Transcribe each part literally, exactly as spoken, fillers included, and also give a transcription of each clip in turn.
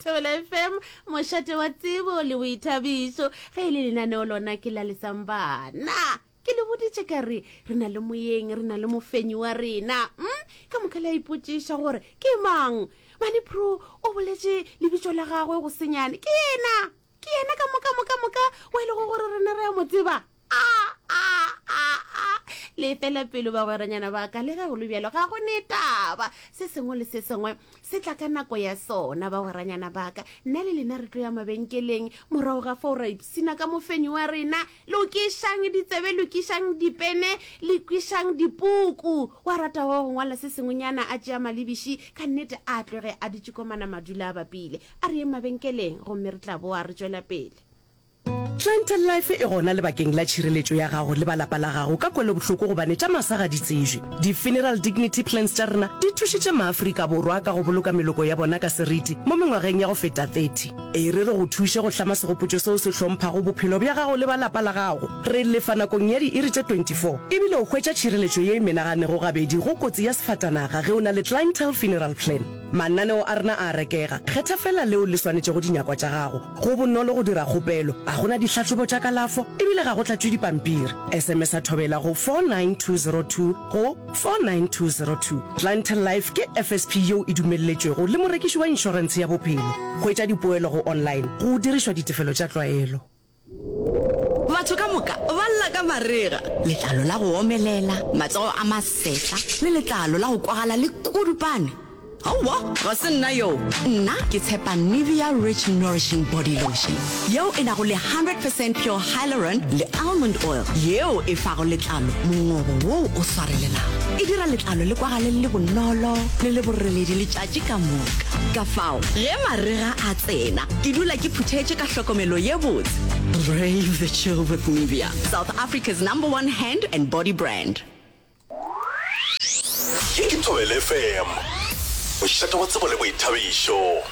Thobela F M, mošate wa tsebo le boithabišo. Ge e le lenaneo lona ke la Lesambana. Ke le boditše ka re re na le moyeng, re na le mofenyi wa rena. Mm? Ka moka le a ipotšiša gore ke mang. Mane Pro o boletše lebitso la gagwe go senyane. Ke yena, ke yena ka moka moka moka wa e lego gore rena re a mo tseba. A a a a le fela pelo, bagweranyana ba ka. Le ge go le bjalo, ga go ne taba, se sengwe le se sengwe se tla ka nako ya sona, bagweranyana ba ka. Nna le lena re tlo ya mabenkeleng, morago ga fao ra ipsina ka mofenyi wa rena. Lokišang ditsebe, lokišang dipene, lokišang dipuku. Wa rata wa go ngwala se sengwenyana, a tšea malebiši, ka nnete a tloge a dutše komana, madula a bapile. A re yeng mabenkeleng gomme re tla boa re tšwela pele. Clientele Life e gona lebakeng la tšhireletšo ya gago le ba lapa la gago ka kwelobohloko, gobane tša masa ga di tsejwe. Di-funeral dignity plans tša rena di thušitše Maafrika Borwa ka go boloka meloko ya bona ka seriti mo mengwageng ya go feta thirty. E re re go thuše go hlama segopotšo seo se hlomphago bophelo bja gago le ba lapa la gago. Re lefa nakong ya diiri tše twenty-four, ebile o hwetša tšhireletšo ye e menaganego gabedi go kotsi ya sefatanaga ge o na le Clientele Funeral Plan. Mananeo a rena a rekega, kgetha fela leo le swanetšego dinyakwa tša gago. Go bonolo go dira kgopelo, ga gona dihlahlobo tša kalafo ebile ga go tlatšwe dipampiri. S M S a Thobela go four nine two zero two go four nine two zero two. Clientele Life ke F S P yeo e dumelletšwego le morekiši wa inšorentshe ya bophelo. Hwetša dipoelo go online go dirišwa ditefelo tša tlwaelo. Batho ka moka ba lla ka marega, letlalo la go omelela, matsogo a masetla le letlalo la go kwagala le kudupane. Aowa, ga se nna yo. Nna ke tshepa Nivea Rich Nourishing Body Lotion yeo e nago le one hundred percent pure hyaluron le almond oil, yeo e fago letlalo mongobo woo o swarelelago. E dira letlalo le kwagale le bonolo le le boreledi letšatši ka moka. Ka fao ge marega a tsena, ke dula ke phuthetše ka hlokomelo ye botse. Brave the chill with Nivea, South Africa's number one hand and body brand. Ye ke Thobela F M, mošate wa tsebo le boithabišo.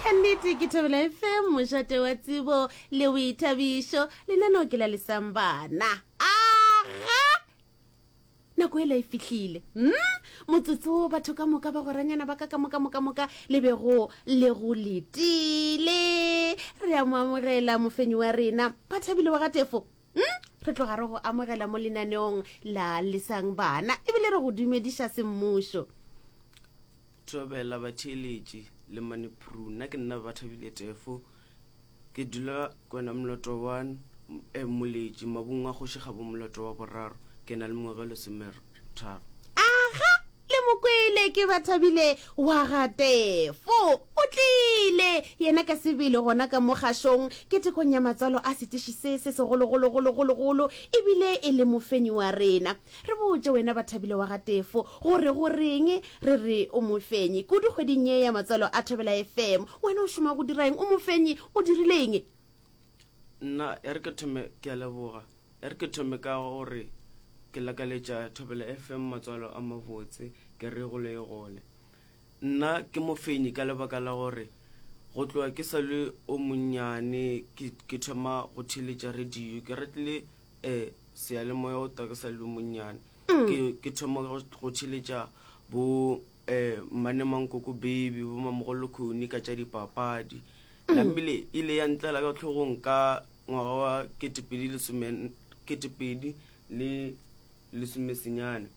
Ka nnete ke Thobela F M, mošate wa tsebo le boithabišo. Lenaneo ke la Lesambana. Aga, nako ela e fihlile, mm? Motsotso batho ka moka, ba goranyana ba ka ka moka moka moka le bego le go letile. Re a mo amogela mofenyi wa rena, Bathabile wa Gatefo, mm? Re tloga re go amogela mo lenaneong la Lesang Bana, ebile re go dumediša semmušo. Thobela batheeletši le Manepru. Nna ke nna Bathabile Tefo, ke dula Kwena Moloto one, eh, Moletši, mabung a Kgoši Kgabo Moloto wa boraro. Ke na le mengwaga e lesometharo. Aga, le mokwele, ke Bathabile wa Gatefo, o tlile yena ka sebele gona ka mogašong ketekong ya matswalo a setiši se se segologologologologolo, ebile e le mofenyi wa rena. Re botse wena Bathabile wa Gatefo gore go reng re re o mofenyi kudu kgweding ye ya matswalo a Thobela F M. Wena o šoma go dira eng? O mofenyi, o dirileng? Nna e re ke thome, ke a leboga, e re ke thome ka gore ke lakaletša Thobela F M matswalo a mabotse, ke re gole e gole. Nna ke mofenyi ka lebaka la gore go tloga ke sa le o monnyane ke ke thoma go theletša radio. Ke ratile um seyalemoya o ta ke sa le o monnyane, ke ke thoma go go theletša bo um mmane Mankoko Baby, bo Mamogolo Khoni ka tša dipapadi. Namile ile ya ntlela ka tlhogong ka ngwaga wa ketepedi lesome ketepedi le lesomesenyane.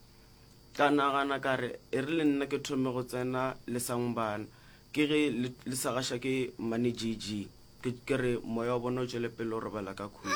Tla nagana ka re e re le nna ke thome go tsena Lesang Bana, ke ge le le sa gaša ke mmane J G. ke ke re moya wa bona o tšwele pele o robala ka khutšo.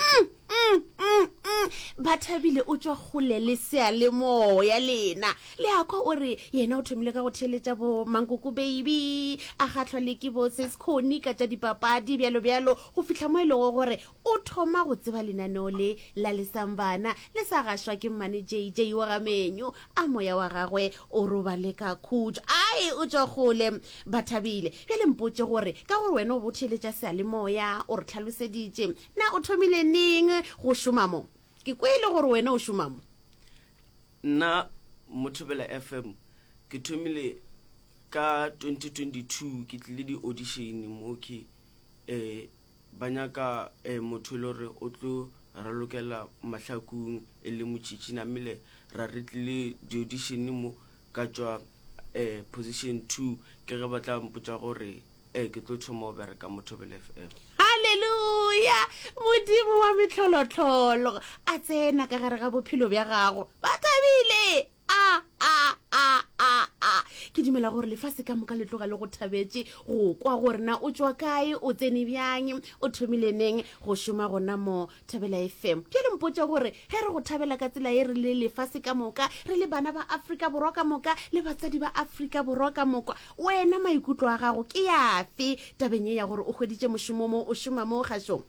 Mm, mm, mm. Bathabile o tšwa kgole le seyalemoya. Lena le a kwa o re yena o thomile ka go theletša bo Mankoko Baby, a kgahlwa le ke bo Seskhoni ka tša dipapadi, bjalo bjalo, go fihla mo e lego gore o thoma go tseba lenaneo le la Lesambana le sa gašwa ke mmane J J wa gamenyo. A moya wa gagwe o robale ka khutšo. Ai, o tšwa kgole Bathabile. Bjale mpotše gore ka gore wena o bo theletša seyalemoya, o re tlhaloseditše, na o thomile neng go šoma mo? Ke kwele gore wena o šoma mo. Nna mo Thobela F M ke thomile ka twenty twenty-two. Ke tlile di-audition mo, ke um ba nyaka um motho e le gore o tlo ralokela mahlakong e le motšhitšhi. Namile ra re tlile di-audition mo, ka tšwa um position two. Ke ge ba tla mpotša gore um ke tlo thoma go bereka mo Thobela F M. Haleluya! Modimo wa mehlolohlolo a tsena ka gare ga bophelo bja gago. Ba thabile! A, a, a, a, a. Ke dumela gore lefase ka moka le tloga le go thabetše go kwa gore na o tšwa kae, o tsene bjang, o thomile neng go šoma gona mo Thobela F M. Bjale mpotše gore ge re go thabela ka tsela ye re le lefase ka moka, re le bana ba Afrika Borwa ka moka le batswadi ba Afrika Borwa ka moka, wena maikutlo a gago ke afe tabeng ye ya gore o hweditše mošomo mo, o šoma mo kgašong?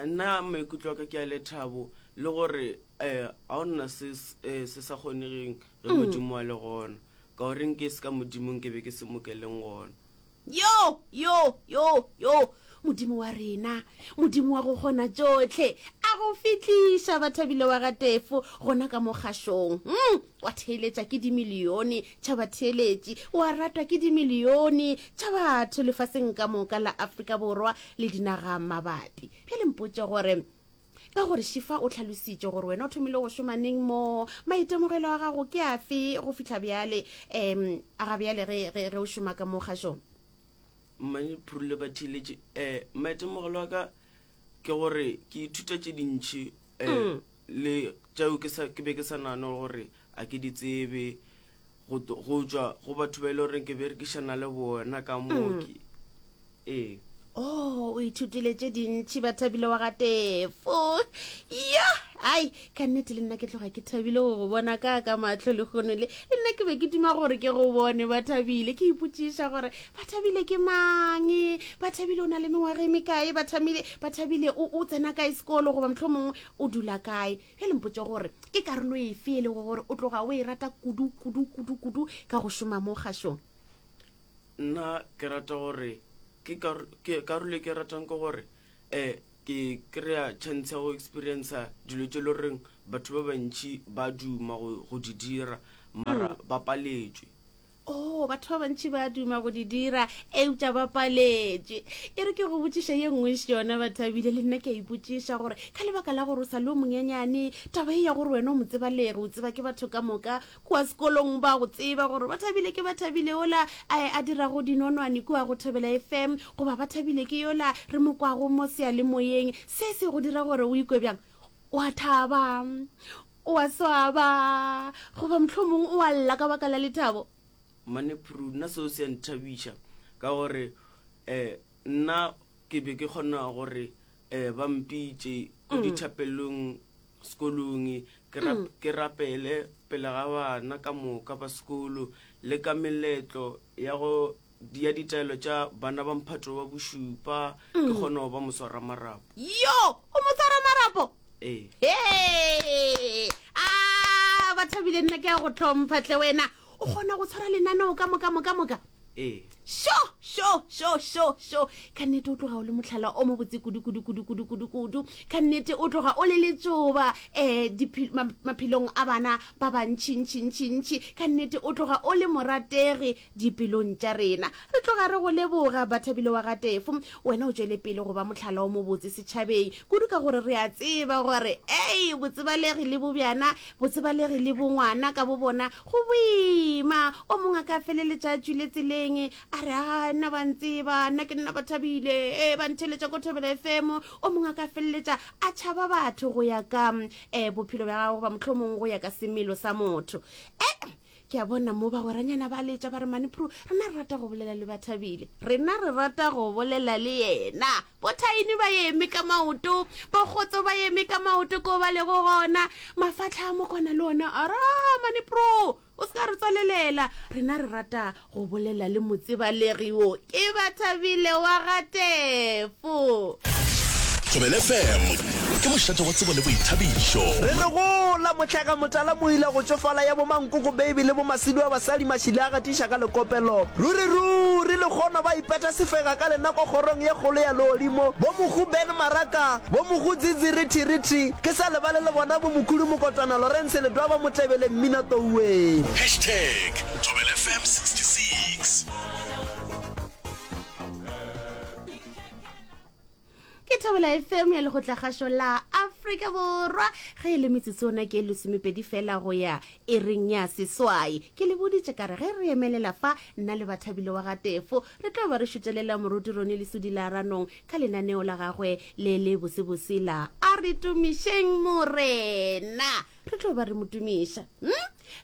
Nna maikutlo a ka ke a lethabo le gore um ga o nna se, eh, se sa kgonegeng ge Modimo a le gona, ka gore nke se ka Modimo nke be ke se mo keleng gona. Yo, yo, yo, yo, Modimo wa rena, Modimo wa go kgona tšohle, a go fihliša Bathabile wa ga Tefo gona ka mo kgašong. Mm, wa theeletša ke dimilione tša batheeletši, wa ratwa ke dimilione tša batho lefaseng ka moka la Afrika Borwa le dinaga mabapi. Bjale mpotše gore ka gore Shifa o hlalositše gore wena o thomile go šoma neng mo, maitemogelo a gago ke afe go fihla bjale, um a ga bjale ge, ge, ge o šoma ka mo kgašong? Mmane Phurule ba theeletše, eh, maitemogelo a ka ke gore ke ithuta tše dintši, eh, Mm. le tšeo ke sa, ke be ke sa nagane gore a ke di tsebe, go to-, go tšwa go batho ba e le goreng ke berekišana le bona ka Mm. mooki. Ee. Oh, o ithutile tše dintši Bathabile wa ga Tefo. Ya, ai, ka nnete le nna ke tloga ke thabile go go bona ka ka mahlo lehono le. Le nna ke be ke duma gore ke go bone Bathabile, ke ipotšiša gore Bathabile ke mang, Bathabile o na le mengwaga e mekae, Bathabile, Bathabile o, o tsena kae sekolo goba mohlomongwe o dula kae. Bjale mpotše gore ke karolo efe e lego gore o tloga o e rata kudu, kudu, kudu, kudu ka go šoma mo kgašong? Nna ke rata gore ke kar-, ke karolo e ke ratang ke gore, eh, ke kry-a chance ya go experience-a dilo tše le goreng batho ba bantši ba duma go, go di dira, mara Mm. ba paletšwe. Oh, batho ba bantši ba duma go di dira eupša ba paletšwe. E re ke go botšiša ye nngwe yona Bathabile, le nna ke a ipotšiša gore ka lebaka la gore o sa le o monyenyane, taba e ya gore wena o mo tsebalege, o tseba ke batho ka moka kua sekolong ba go tseba gore Bathabile ke Bathabile ola a, a dirago dinonwane kua go Thobela F M, goba Bathabile ke yola re mo kwago mo seyalemoyeng. Se se go dira gore o ikwe bjang? O a thaba, o a swaba, goba mohlomong o a lla ka baka la lethabo? Mane Phuru, nna seo se a nthabiša ka gore, eh, nna ke be ke kgona gore, eh, ba mpitše ko Mm. dithapelong sekolong, ke rap-, Mm. ke rapele pele ga bana ka moka ba sekolo, le ka meletlo ya go ya ditaelo tša bana ba mphato wa bošupa, ke Mm. kgona go ba moswara marapo. Yo, o moswara marapo? Ee. Hee! Ah, Bathabile, nna ke a go hlompha tle wena. O kgona go tshwara lenaneo ka moka, moka, moka? Ee. Sho, sho, sho, sho, sho. Ka nnete o tloga o le mohlala o mobotse kudu, kudu, kudu, kudu, kudu, kudu. Ka nnete o tloga o le letšoba, eh, diphi-, ma-, maphelong a bana ba bantši, ntši, ntši, ntši. Ka nnete o tloga o le morategi dipelong tša rena. Re tloga re go leboga Bathabile wa ga Tefo. Wena o tšwele pele go ba mohlala o mobotse setšhabeng kudu, ka gore re a tseba gore, ei, botsebalegi le bobjana, botsebalegi le bongwana ka bo bona go boima. O mongwe a ka feleletša a tšwile tseleng, a re, a, nna ba ntseba, nna ke nna Bathabile, e, ba ntheletša ko Thobela F M. O mongwe a ka feleletša a tšhaba batho go ya ka, eh, bophelo bja gagwe, goba mohlomongwe go ya ka semelo sa motho. Eh, ke a bona mo bagweranyana ba letša ba re, Mane Phuru, rena re rata go bolela le Bathabile, rena re rata go bolela le yena. Bothaini ba eme ka maoto, bokgotso ba eme ka maoto ko ba lego gona, mafatlha a mokwana le ona a ra, Mane Phuru, o se ka re tswalelela, rena re rata go bolela le motsebalegi wo ke Bathabile wa ga Tefo. Thobela F M ke mošate wa tsebo le boithabišo. Re re gola mohlaka motala moila go tšofala ya bomankoko baby le bomasidi wa basadi mašile a gatiša ka lekopelo. Ruri ruri le kgono ba ipeta sefega ka lenako kgorong ye kgolo ya legodimo. Bo mohu Ben Maraka, bo mohu Dzidzi Rithi Rithi, ke sa lebale le bona bo mokhulu Mokotwana Lawrence Ledwa ba motlebele mmina touwe. Hashtag Thobela F M sixty-six. Ke Thobela F M ya Lekgotlakgašo la Afrika Afrika Borwa. Ge e le metsotso yona ke e lesomepedi fela go ya iring ya seswai. Ke le boditše ka re ge re emelela fa, nna le Bathabile wa ga Tefo re tlo ba re šutelela Moruti Ronnie Lesodi la Ranong ka lenaneo la gagwe le le bosebose la A re Tumišeng Morena. Re tlo ba re mo tumiša. Hm?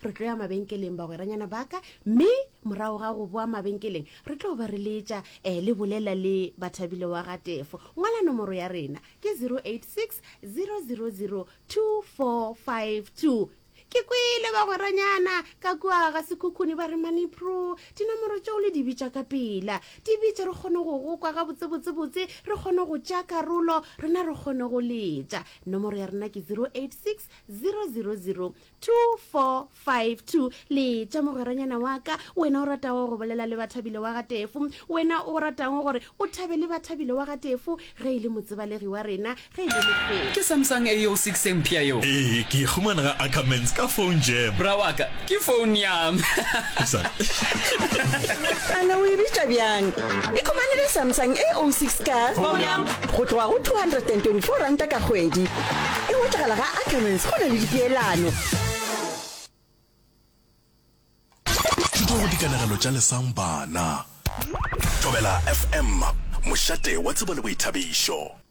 Re tlo ya mabenkeleng, bagweranyana ba ka, mme morago ga go boa mabenkeleng re tlo ba re letša eh, le bolela le Bathabile wa ga Tefo. Ngwala nomoro ya rena ke zero eight six zero zero zero two four five two. Ke kwele bagweranyana ka kua ga Sekhukhune ba re, Manipro, dinomoro tšeo le di bitša ka pela. Di bitše re kgone go go kwa gabotsebotsebotse, re kgone go tšea karolo, rena re kgone go letša. Nomoro ya rena ke zero eight six zero zero zero two four five two. Letša mogweranyana wa ka, wena o ratago go bolela le Bathabile wa ga Tefo, wena o ratago gore o thabe le Bathabile wa ga Tefo ge e le motsebalegi wa rena, ge e le mofenyi. Ke Samsung A O six e mpsha yeo. Ee, ke e humana ga Ackermans ka phone jam. Bra wa ka, ke phone yam. Ana o e bitša bjang? Ikhumanele Samsung A O six ka go tloga go two hundred and twenty four ranta ka kgwedi. E hwetšagala ga Ackermans go na le dipeelano. Thuto go dikanegelo tša Lesang Bana. Thobela F M, mošate wa tsebo le boithabišo.